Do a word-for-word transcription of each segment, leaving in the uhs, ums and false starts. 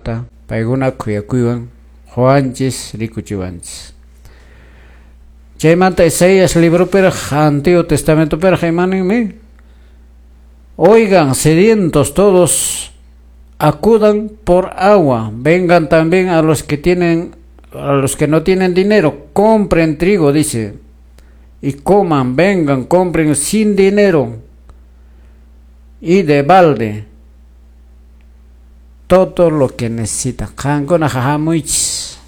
sumaqta paykuna khuyakuywan qowanchis rikuchiwanchis. Chaymanta Isaías libropiraq Antiguo Testamentopiraq imaninmi? Oigan, sedientos todos, acudan por agua, vengan también a los que tienen, a los que no tienen dinero, compren trigo, dice, y coman, vengan, compren sin dinero y de balde todo lo que necesitan. Qankuna hamuychis,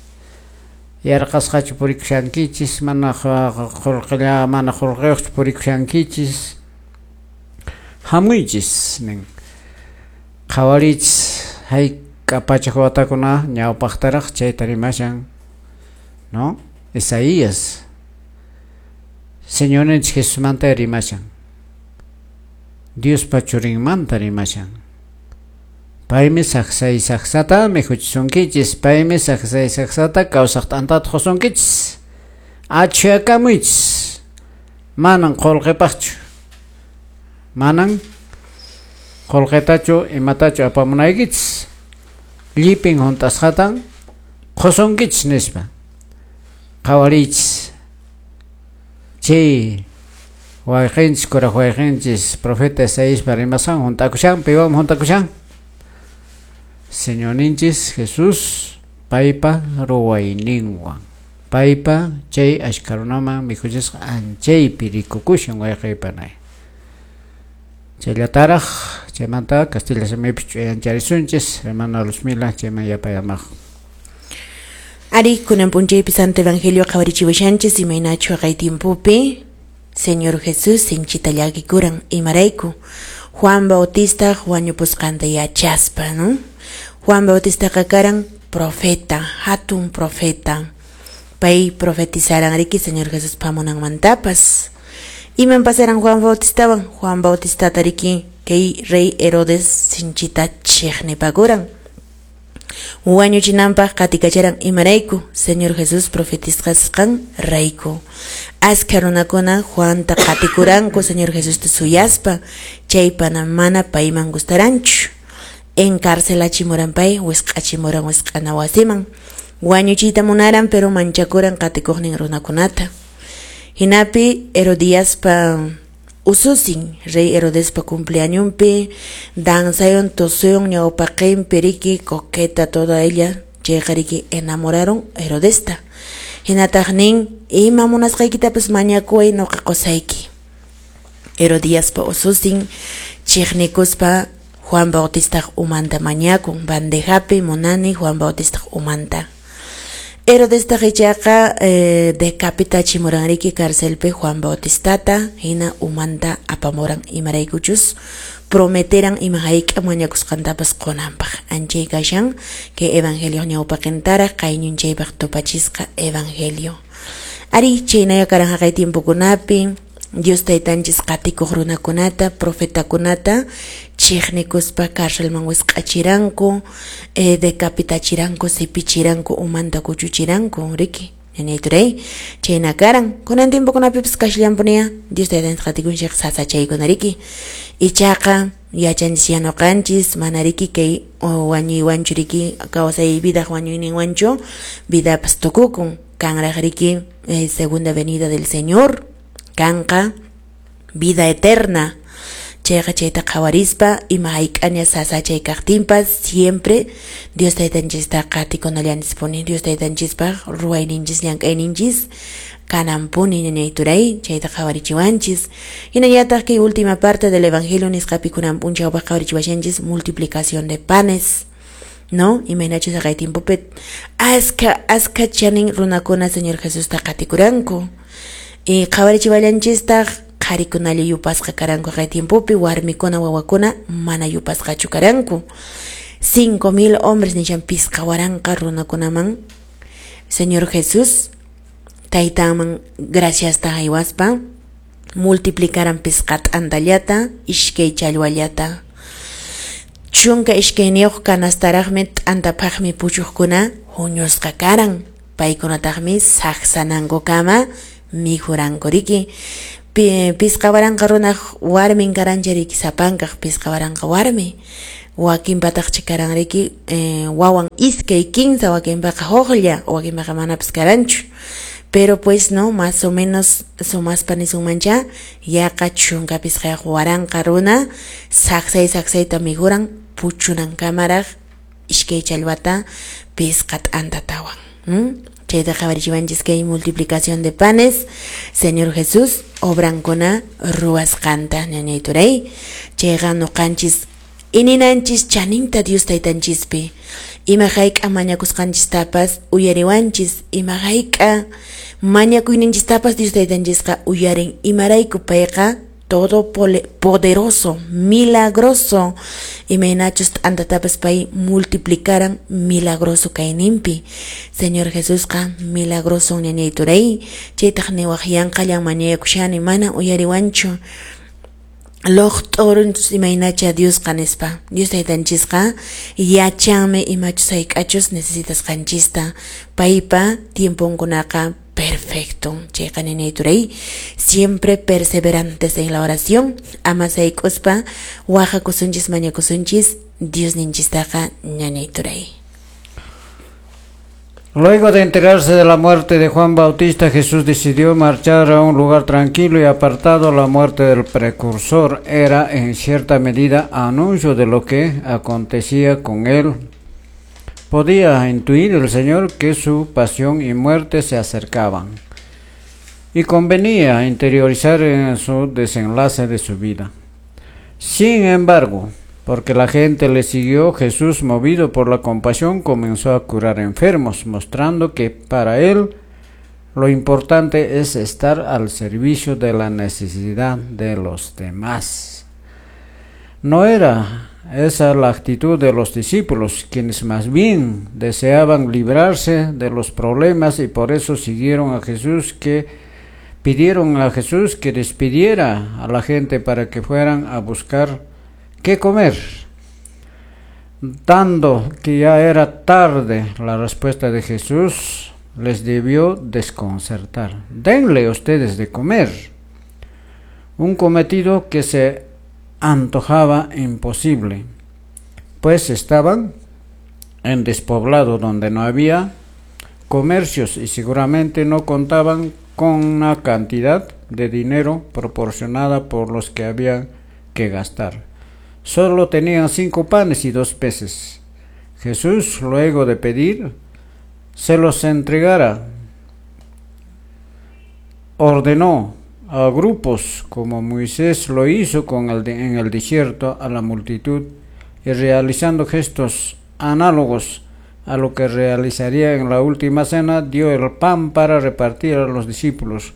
yarqasqachu purikushankichis, mana qullqilla, mana qullqiyuqchu purikushankichis, hamuychis nin. Qhawarichis hayk'a pachak watakuna ñawpaqtaraq chayta rimashan, ¿no? Isaías Señorninchik Jesusmanta rimashan, Diospa churinmanta rimashan. Paymi saksay saksata mikhuchisunkichis, paymi saksay saksata kawsaq t'antata qusunkichis. Achhuyakamuychis, manan qullqipaqchu, manan qullqitachu imatachu apamunaykichis, llipin hunt'asqatan qusunkichis nispa. Qhawariychis chay wayqinchis, kuraq wayqinchis profeta Isaíaspa rimasqan hunt'akushan. Piwanmi hunt'akushan? Señorninchis Jesús paypa ruwayninwan, paypa chay achka runaman mikhuchisqa anchaypi rikukushan wayqiypanay. Chayllataraq chaymanta castilla simipi ch'uyancharisunchis, hermana Luzmila chayman yapayamaq. Ari, kunan p'unchaypi Santo Evangelio qhawarichiwashanchis imaynachu haqay tiempopi Señor Jesús sinchita llakikuran imarayku Juan Bautista wañupusqanta yachaspa, ¿no? Juan Bautistaqa karan profeta, hatun profeta. Pay profetizaran riki Señor Jesús pamunanmantapas. Iman pasaran Juan Bautistawan? Juan Bautistata riki kay rey Herodes sinchita chiqnipakuran. Wañuchinanpaq qatikacharan imarayku Señor Jesús profetizqasqan rayku. Askha runakuna Juanta qatikuranku Señor Jesusta suyaspa, chaypana mana payman gustaranchu. Encarcelachimuran pay, wisq'achimuran wisq'ana wasiman. Wañuchiyta munaran pero manchakuran qatikuqnin runakunata. Hinapi Herodiaspa ususin, rey Herodespa cumpleañonpi, danzayon, toseon, ñawpaqinpi riki, coqueta toda ella, chayqa riki enamoraron Herodesta. Hinataq nin, ima munasqaykitapas mañakuway nuqa qusayki. Herodiaspa ususin, chiqnikuspa Juan Bautistaq umanta mañakun, bandejapi munani Juan Bautistaq umanta. Herodestaq ichaqa eh, decapitachimuran riki carcelpi Juan Bautistata, hina umanta apamuran imaraykuchus prometeran ima hayk'a mañakusqantapas qunanpaq. Anchay kashan kay evangelio ñawpaqintaraq qayñunchaypaq tupachisqa evangelio. Ari chaynaya karan haqay tiempokunapi Dios taytanchis qatikuq runakunata, profetakunata chiqnikuspa carcelman wisq'achiranku, eh, decapitachiranku, sipichiranku, umanta kuchuchiranku, riki. Ñañayturay, chayna karan. Kunan tiempokunapipas kashallanpunia, Dios taytanchis qatikunchik sasachaykuna riki. Ichaqa yachanchis yanuqanchis, mana riki kay wañuywanchu riki, kawsay vidaq wañuyninwanchu, vidapas tukukun. Kanraq riki eh, segunda venida del Señor, kanqa vida eterna. Chayqa chayta qhawarispa ima hayk'aña sasachay kaqtinpas siempre Dios taytanchista qatikunallanchispuni, Dios taytanchispaq ruwayninchis llank'ayninchis kananpuni ñañayturay, chayta qhawarichiwanchis. Hinallataq kay última parte del evangelio nisqapi kunan p'unchawpaq qhawarichiwashanchis multiplicación de panes, ¿no? Imaynachus haqay tiempopi askha askha chanin runakuna Señor Jesusta qatikuranku. Y qhawarichiwallanchistaq qharikunalla yupasqa karanku haqay tiempopi, warmikuna wawakuna mana yupasqachu karanku. Cinco mil hombres nishan pisqa waranqa runakunaman Señor Jesús taytanman graciasta haywaspa multiplicaran pisqa t'antallata ishkay challwallata. Chunka ishkayniyuq kanastaraqmi t'antapaqmi puchuqkuna huñusqa karan. Paykunataqmi saksanankukama mikhuranku riki. Pisqa waranqa runaq warmin karancha riki sapankaq pisqa waranqa warmi. Wakinpataqchi karan riki eh, wawan iskay kinsa, wakinpaqa huklla, wakinpaqa manapas karanchu. Pero pues no, más o menos sumaspa nisunmancha yaqa chunka pisqayuq waranqa runa saksay saksayta mikhuran puchunankamaraq iskay challwata pisqa t'antatawan. ¿Mm? Chayta qhawarichiwanchis kay multiplicación de panes, Señor Jesús obrankuna ruwasqanta, ñañay turay. Chayqa nuqanchis ininanchis chaninta Dios taytanchispi. Ima hayk'a mañakusqanchistapas uyariwanchis, ima hayk'a mañakuyninchistapas Dios taytanchisqa uyarin. Imarayku payqa todo poderoso, milagroso, imaynachus t'antatapas pay multiplicaran milagroso kayninpi. Señor Jesusqa milagroso ñañay turay. Chaytaq niwaq yanqallan mañakushani mana uyariwanchu. Loqt'urunchus imaynacha Diosqa nispa. Dios taytanchisqa yachanmi imachus hayk'achus necesitasqanchista. Paypa tiemponkunaqa perfecto. Chayqa ñañay turay, siempre perseverantes en la oración, ama sayk'uspa waqakusunchis mañakusunchis Dios ninchistaqa ñañay turay. Luego de enterarse de la muerte de Juan Bautista, Jesús decidió marchar a un lugar tranquilo y apartado. La muerte del precursor era en cierta medida anuncio de lo que acontecía con él. Podía intuir el Señor que su pasión y muerte se acercaban, y convenía interiorizar en su desenlace de su vida. Sin embargo, porque la gente le siguió, Jesús, movido por la compasión, comenzó a curar enfermos, mostrando que para él lo importante es estar al servicio de la necesidad de los demás. No era esa la actitud de los discípulos, quienes más bien deseaban librarse de los problemas y por eso siguieron a Jesús, que pidieron a Jesús que despidiera a la gente para que fueran a buscar qué comer. Dando que ya era tarde, la respuesta de Jesús les debió desconcertar. Denle ustedes de comer. Un cometido que se antojaba imposible, pues estaban en despoblado donde no había comercios y seguramente no contaban con una cantidad de dinero proporcionada por los que habían que gastar. Solo tenían cinco panes y dos peces. Jesús, luego de pedir, se los entregara. Ordenó a grupos, como Moisés lo hizo con el de, en el desierto, a la multitud, y realizando gestos análogos a lo que realizaría en la última cena, dio el pan para repartir a los discípulos,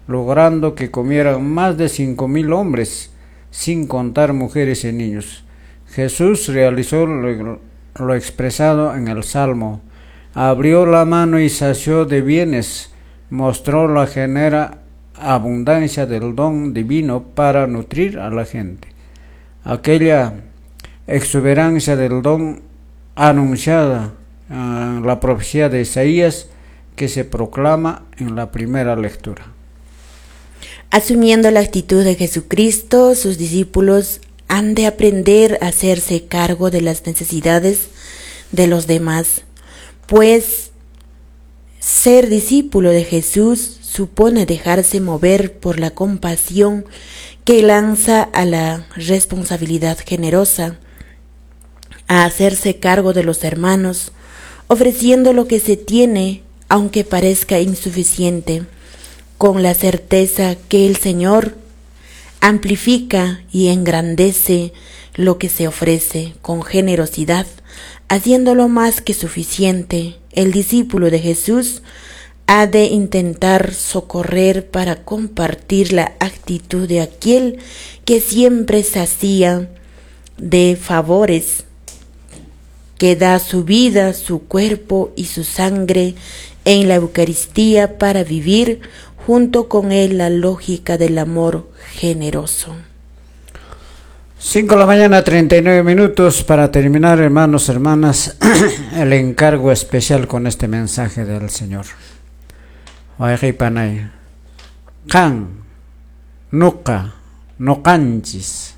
logrando que comieran más de cinco mil hombres, sin contar mujeres y niños. Jesús realizó lo, lo expresado en el Salmo. Abrió la mano y sació de bienes, mostró la genera abundancia del don divino para nutrir a la gente. Aquella exuberancia del don anunciada en la profecía de Isaías que se proclama en la primera lectura. Asumiendo la actitud de Jesucristo, sus discípulos han de aprender a hacerse cargo de las necesidades de los demás, pues ser discípulo de Jesús supone dejarse mover por la compasión que lanza a la responsabilidad generosa, a hacerse cargo de los hermanos, ofreciendo lo que se tiene, aunque parezca insuficiente, con la certeza que el Señor amplifica y engrandece lo que se ofrece con generosidad, haciéndolo más que suficiente. El discípulo de Jesús ha de intentar socorrer para compartir la actitud de aquel que siempre sacía de favores, que da su vida, su cuerpo y su sangre en la Eucaristía para vivir junto con él la lógica del amor generoso. Cinco de la mañana, treinta y nueve minutos. Para terminar, hermanos, hermanas, el encargo especial con este mensaje del Señor. Wayqipanay, qan, nuqa, nuqanchis,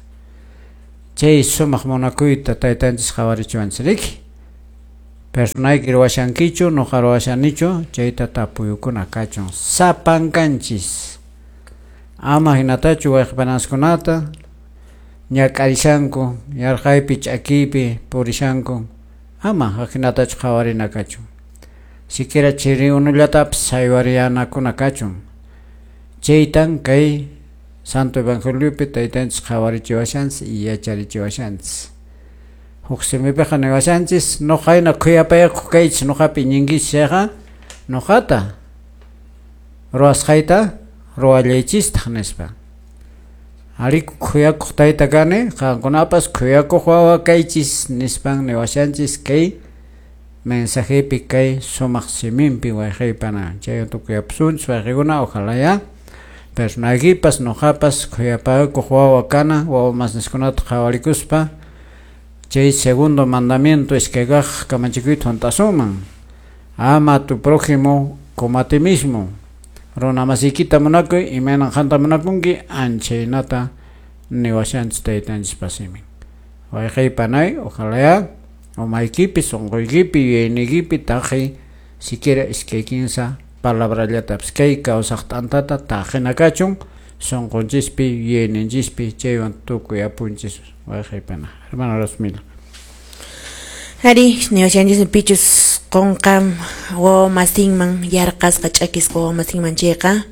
Chay sumaq munakuyta taytanchis qhawarichiwanchis riki. Personayki ruwashankichu, nuqa ruwashanichu, chayta tapuyukuna kachun sapankanchis. Ama hinatachu wayqipanaskunata ñak'arishanku, yarqaypi ch'akiypi purishanku, ama ahinatachu qhawarina kachun. Siquiera chiri unullatapis saywariyanakuna kachun. Chaytan kay Santo Evangeliopi taytanchis qhawarichiwashanchis y yacharichiwashanchis. Huk simipiqa niwashanchis, nuqayna khuyapayakuq kaychis, nuqapi iñinkichis chayqa nuqata ruwasqayta ruwallaychistaq nispa. Ariku khuyakuq tayta kani, qankunapas khuyakuq wawa kaychis nispan niwashanchis kay mensajepi kay sumaq siminpi wayqaypana. Chay tukuyapusunchis wayqikuna, ojalá ya personaykipas nuqapas khuyapakuq wawa kana, wawa masniskunata qhawarikuspa chay segundo mandamiento iskay kaq kamachikuyta hunt'asunman. Ama a tu prójimo como a ti mismo. Runa masiykita munakuy, imaynan qanta munakunki, anchaynata niwashanchis taytanchis simin. Wayqaypanay, ojalá ya umaykipi, sunquykipi, yuyayniykipi taqi siquiera iskay kinsa palabrallatapis kay kawsaq t'antata taqina kachun sunqunchispi, yuyayninchispi, chaywan tukuy apunchis wayqaypana. Hermano Rosmila. Ari, niwashanchis pichus qunqa wawa masinman yarqasqa ch'akisqa wawa masinman chayqa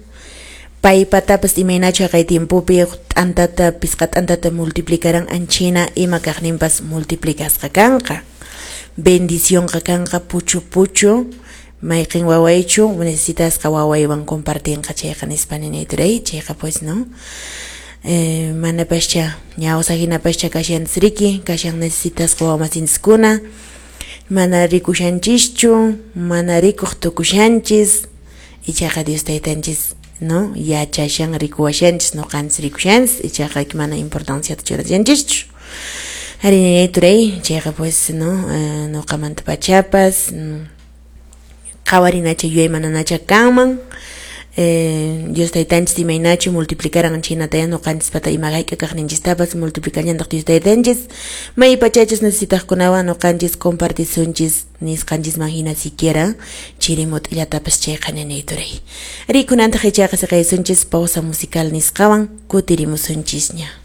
paypatapas imaynachu haqay tiempopi t'antata pisqa t'antata multiplicaran anchina ima kaqninpas multiplicasqa kanqa. Bendicionqa kanqa puchu puchu mayqin wawaychu necesitasqa wawaywan compartinqa chayqa nispa ninayturay chayqa pues no. Eh, manapascha ñawsa hinapascha kashanchis riki kashan necesitasqa wawamasinchiskuna mana rikushanchischu mana rikuq tukushanchis ichaqa Dios taytanchis no yachashan rikuwashanchis nuqanchis rikushanchis ichaqa mana importanciata churashanchischu. Ari ninayturay chayqa pues no eh, nuqamanta pachapas qhawarinacha yuyaymananacha kanman. Eh, Dios taytanchis imaynachu multiplicaran chinataya nuqanchispata ima hayk'a kaqninchistapas multiplicallantaq Dios taytanchis may pachachus necesitaqkunawan nuqanchis compartisunchis nisqanchisman hina siquiera chirimut'illatapas chayqa ninayturay. Rikunantaq ichaqa siqaysunchis pausa musical nisqawan kutirimusunchisña.